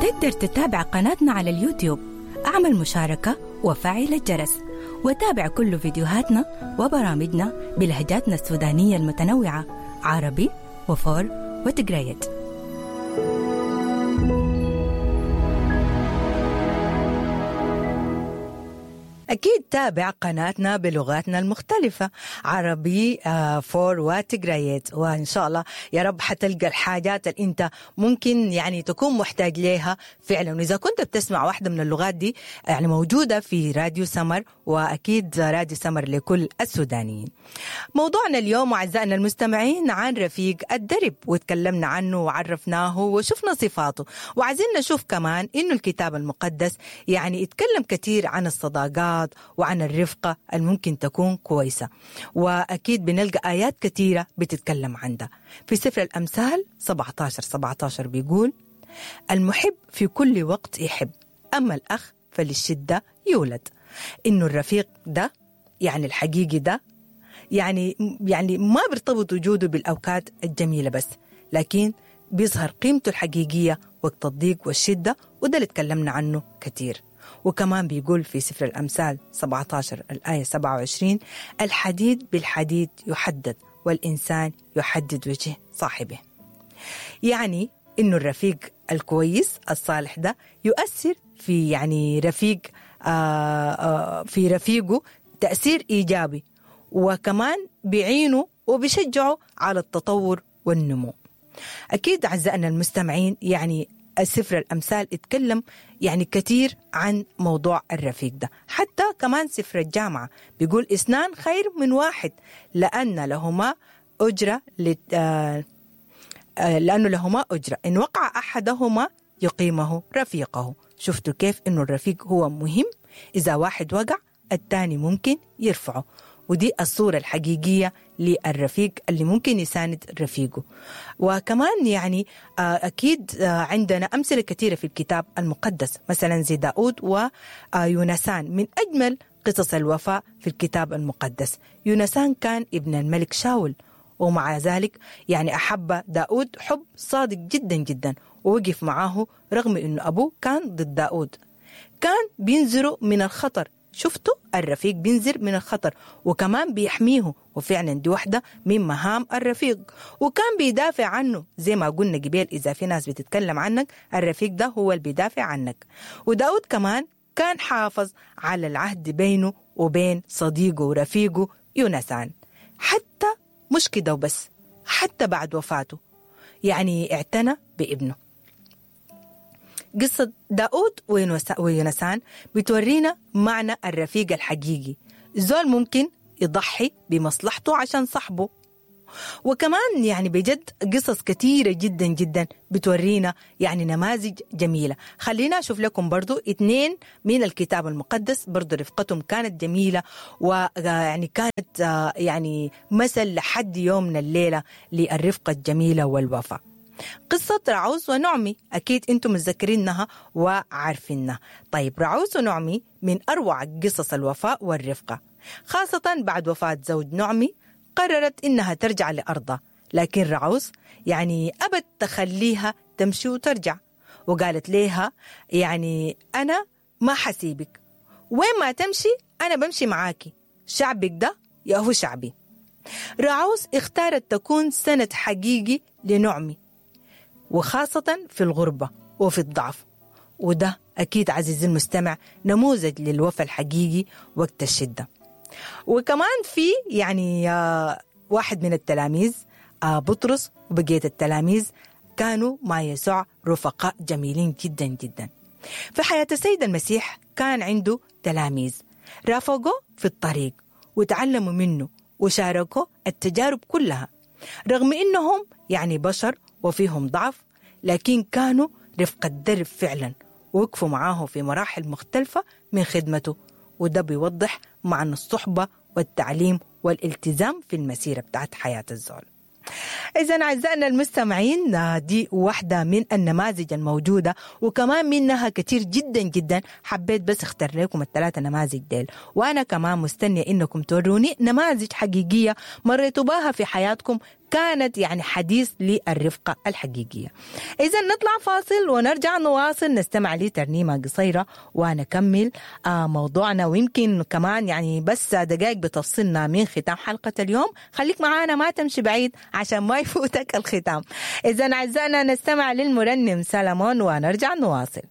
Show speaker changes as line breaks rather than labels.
تقدر تتابع قناتنا على اليوتيوب، اعمل مشاركة وفعل الجرس وتابع كل فيديوهاتنا وبرامجنا بلهجاتنا السودانية المتنوعة، عربي وفور وتجريت. أكيد تابع قناتنا بلغاتنا المختلفة، عربي فور وتجريت، وإن شاء الله يا رب حتلقى الحاجات اللي أنت ممكن يعني تكون محتاج ليها فعلا. وإذا كنت بتسمع واحدة من اللغات دي يعني موجودة في راديو سمر، وأكيد راديو سمر لكل السودانيين. موضوعنا اليوم أعزائنا المستمعين عن رفيق الدرب، وتكلمنا عنه وعرفناه وشفنا صفاته، وعايزين نشوف كمان إنه الكتاب المقدس يعني اتكلم كثير عن الصداقات وعن الرفقة الممكن تكون كويسة، وأكيد بنلقى آيات كثيرة بتتكلم عن ده. في سفر الأمثال 17:17 بيقول: المحب في كل وقت يحب، أما الأخ فللشدة يولد. إنه الرفيق ده يعني الحقيقي ده يعني ما بيرتبط وجوده بالأوقات الجميلة بس، لكن بيظهر قيمته الحقيقية وقت الضيق والشدة، وده اللي تكلمنا عنه كثير. وكمان بيقول في سفر الأمثال 17 الآية 27: الحديد بالحديد يحدد، والإنسان يحدد وجه صاحبه. يعني إنه الرفيق الكويس الصالح ده يؤثر في يعني رفيق في رفيقه تأثير إيجابي، وكمان بيعينه وبيشجعه على التطور والنمو. أكيد أعزائنا المستمعين يعني السفر الأمثال اتكلم يعني كثير عن موضوع الرفيق ده. حتى كمان سفر الجامعة بيقول اثنان خير من واحد لأن لهما أجرة لأنه لهما أجرة، إن وقع أحدهما يقيمه رفيقه. شفتوا كيف إنه الرفيق هو مهم؟ إذا واحد وقع الثاني ممكن يرفعه، ودي الصورة الحقيقية للرفيق اللي ممكن يساند رفيقه. وكمان يعني أكيد عندنا أمثلة كثيرة في الكتاب المقدس، مثلا زي داود ويونسان، من أجمل قصص الوفاء في الكتاب المقدس. يونسان كان ابن الملك شاول، ومع ذلك يعني أحب داود حب صادق جدا جدا، ووقف معاه رغم أنه أبوه كان ضد داود. كان بينذره من الخطر، شفتوا الرفيق بينذر من الخطر وكمان بيحميه، وفعلا دي واحدة من مهام الرفيق. وكان بيدافع عنه زي ما قلنا قبل، إذا في ناس بتتكلم عنك الرفيق ده هو اللي بيدافع عنك. وداود كمان كان حافظ على العهد بينه وبين صديقه ورفيقه يونسان، حتى مش كده وبس، حتى بعد وفاته يعني اعتنى بابنه. قصة داود ويونسان بتورينا معنى الرفيق الحقيقي، زول ممكن يضحي بمصلحته عشان صاحبه. وكمان يعني بجد قصص كثيرة جدا جدا بتورينا يعني نماذج جميلة. خلينا أشوف لكم برضو 2 من الكتاب المقدس برضو رفقتهم كانت جميلة، ويعني كانت يعني مثل لحد يومنا الليلة للرفقة الجميلة والوفاء. قصة رعوز ونعمي أكيد أنتم متذكرينها وعارفينها. طيب رعوز ونعمي من أروع قصص الوفاء والرفقة، خاصة بعد وفاة زوج نعمي قررت إنها ترجع لأرضها، لكن رعوز يعني أبت تخليها تمشي وترجع، وقالت ليها يعني أنا ما حسيبك، وين ما تمشي أنا بمشي معاكي، شعبك ده يا هو شعبي. رعوز اختارت تكون سند حقيقي لنعمي، وخاصة في الغربة وفي الضعف، وده أكيد عزيزي المستمع نموذج للوفاء الحقيقي وقت الشدة. وكمان في يعني واحد من التلاميذ بطرس وبقية التلاميذ كانوا مع يسوع رفقاء جميلين جدا جدا. في حياة السيد المسيح كان عنده تلاميذ رافقوه في الطريق وتعلموا منه وشاركوا التجارب كلها، رغم إنهم يعني بشر وفيهم ضعف، لكن كانوا رفقة درب فعلا، ووقفوا معاه في مراحل مختلفة من خدمته، وده بيوضح معنى الصحبة والتعليم والالتزام في المسيرة بتاعت حياة الزول. إذن أعزائنا المستمعين دي واحدة من النماذج الموجودة، وكمان منها كتير جدا جدا. حبيت بس اختار لكم الثلاثة نماذج ديل، وأنا كمان مستنية إنكم توروني نماذج حقيقية مريتوا بها في حياتكم كانت يعني حديث للرفقة الحقيقية. إذا نطلع فاصل ونرجع نواصل، نستمع لترنيمة قصيرة ونكمل موضوعنا، ويمكن كمان يعني بس دقائق بتفصلنا من ختام حلقة اليوم. خليك معانا ما تمشي بعيد عشان ما يفوتك الختام. إذا أعزائنا نستمع للمرنم سلمون ونرجع نواصل.